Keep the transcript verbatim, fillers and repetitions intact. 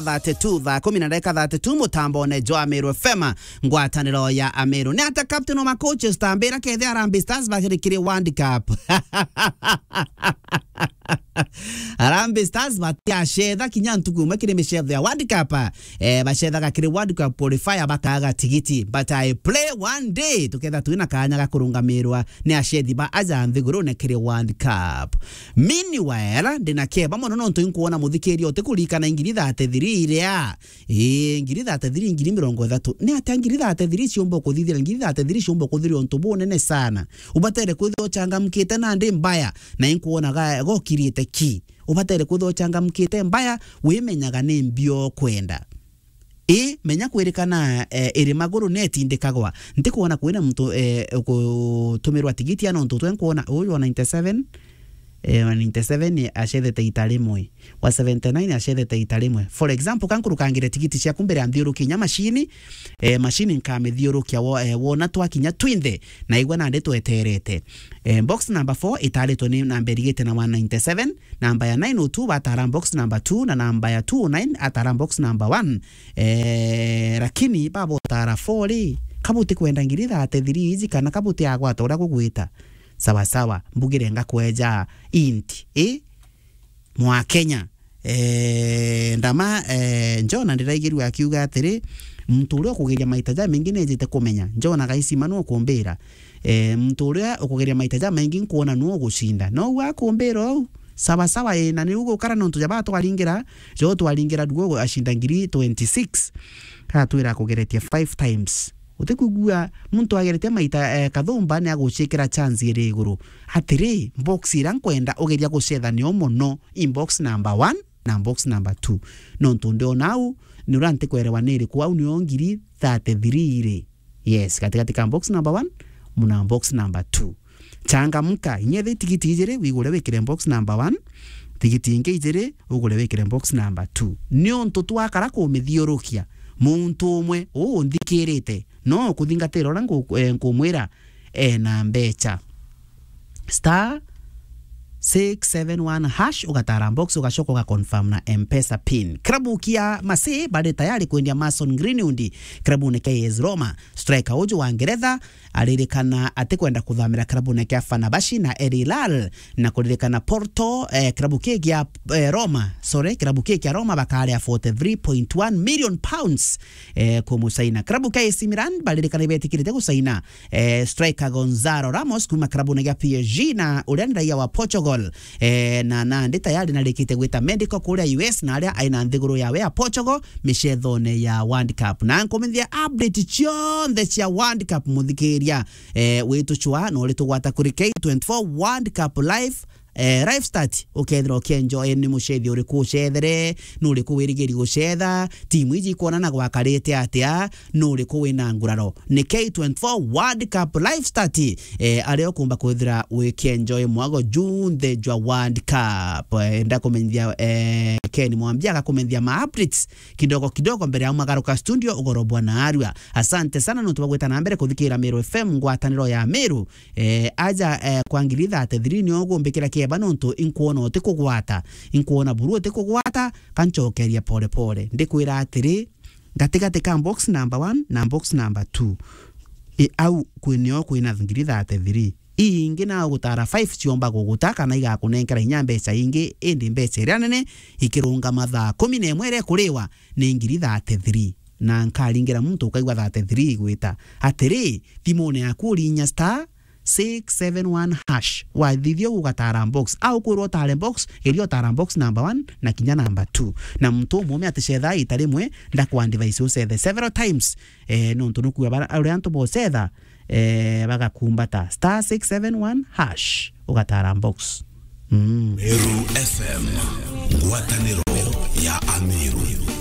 thirty-two, thaa kumi na ndagika thirty-two, mutambone jwa Ameru F M, ngwataniro ya Ameru. Ni atia captain wa ma coaches tambira kethe Harambee Stars bakiri kiri World Cup? Harambee Stars batiacetha kinya ntuku imwe kiri micetho ya World Cup. Eh, bacethaga kiri World Cup qualifier bakaga tigiti. But I pray one day tuketha twina kanya ga kurungamirwa ni acethi ba aja nthigurune kiri World Cup. Meanwhile, ndina keba mono nontu inkuona muthikiria utikuririkana ngiri thirty-three iria. Ii, ngiri thirty-three, ngiri mirongo ithatu. Ni atia ngiri thirty-three ciumba kuthithira? Ngiri thirty-three ciumba kuthithira untu bunene sana. Ubatere kwithirwa uchangamkite nandi mbaya, na inkuonaga gokirite ki. Ubatere kwithirwa uchangamkite mbaya, wimenyaga ni mbio kwenda. Ii, menya kwirikana, eh, iri maguru netindikagwa. Ntikuona kwina muntu, eh, ukutumirwa tigiti ana untu twe nkuona uyu wa ninety-seven, eh, wa ninety-seven acethete ita rimwe, wa seventy-nine acethete ita rimwe. For example, ka nkurukangire tigiti ciaku mbere ya nthiuruki inya mashini, eh, mashini nkamithiurukia wo-, eh, wona twakinya twinthe, na igua nandi tweterete. Eh, box number four itaritwe ni namba irigite na one ninety-seven, namba ya nine oh two batara box number two, na namba ya two oh nine atara box number one. Eh, lakini babotara four ri, kabuti kwenda ngiri thirty-three iji kana kabuti agwata uria gugwita? Sawa sawa, mbugire ngakweja inti, eh? Mwa Kenya. Eh, ndama, eh, Jona ndiraigirua akiuga atiri, muntu uria ukugeria maita jamaingi nejite kumenya. Jona gaisima nu ukumbira. Eh, muntu uria ukugeria maita jamaingi nkuona nu ugucinda. No u akumbira ou. Sawa sawa, eh, na niu gukara nontu jaba twaringira, jo twaringira rugo ashinda ngiri twenty-six. Atwira akugeretie five times. Utikwigua muntu agerete maita, eh, kathumba ni agucikira chance iri iguru. Atiri, box ira nkwenda ugeria gucetha nio mono, in box number one na box number two. Nontu ndiona au, ni uria ntikwerewa ni iriku, au nio ngiri thirty-three iri. Yes, gatigati ka box number one na box number two. Changamka, inya ithi tigiti ijiri, wigure wikire box number one, tigiti ingi ijiri, ugure wikire box number two. Niuntu twakara kumithiurukia, muntu umwe uu unthikirite, no kuthingatira uria nku-, eh, nkumwira, eh, na mbecha. Star six seven one hash, ugatara box, ugacoka ugaconfirm na M-Pesa pin. Klabu kia Marseille bari tayari kwendia Mason Greenwood klabune kia A S Roma. Striker uju wa Ngeretha aririkana atikwenda kuthamira klabune kia Fenerbahce na Al Hilal, na kuririkana Porto, eh, klabu kii kia, eh, Roma, sorry, klabu kii kia Roma bakaria forty-three point one million pounds, eh, kumusaina. Klabu kia A C Milan baririkana ibetikirite gusaina, eh, striker Gonzalo Ramos kuma klabune kia P S G, na uria ni raia wa Portugal. Eh, na nandi tayari narikite gwita medical kuria U S, na aria aina nthiguru yawe ya Portugal micethone ya World Cup. Na nkumithia update cionthe cia World Cup, muthikiria, eh, witu chwa, no ritugwata kuri K twenty-four World Cup Live, eh, Live Start, ukethira ukienjoy ni mucethi uriku ucethere, ni uriku wirigiri gucetha, timu iji ikwonana gwakarite atia, ni uriku wina nguraro. Ni K twenty-four World Cup Live Start, eh, aria ukumba kwithira wikienjoy mwago junthe jwa World Cup. Eh, ndakumenyithia, eh, Ken Mwambia agakumenyithia ma updates kidogo kidogo mbere ya umagaruka studio ugorobwa na arua. Asante sana nontu bwa gwita na mbere kuthikira Meru F M, ngwataniro ya Meru. Eh, aja, eh, kwa ngiri thirty-three nio ugumbikira kieba nontu inkwona utikugwata, inkwona buru utikugwata, kanchokeria pole pole. Ndikwira atiri, gatigati ka box number one na box number two, i au kwi nio kwina ngiri thirty-three. Ii ingi na gutara five ciomba guguta kana igakunenkera inya mbeca ingi, indi mbeca iria nene ikirungama thaa kumi na imwe iria ikuriwa ni ngiri thirty-three. Na nkaringira muntu ukaigua thirty-three igwita. Atiri, thimune yaku urinya star six seven one hash. Wathithia ugatara box. Au kwirwo utare box, geria utara box number one na kinya number two. Na muntu umume aticetha ita rimwe, ndakwa advice ucethe several times. Eh, nontu nukua bara, uria antu bocetha, eh, bagakumbata star six seven one hash, ugatara box. Mm. Meru F M, ngwataniro ya Ameru.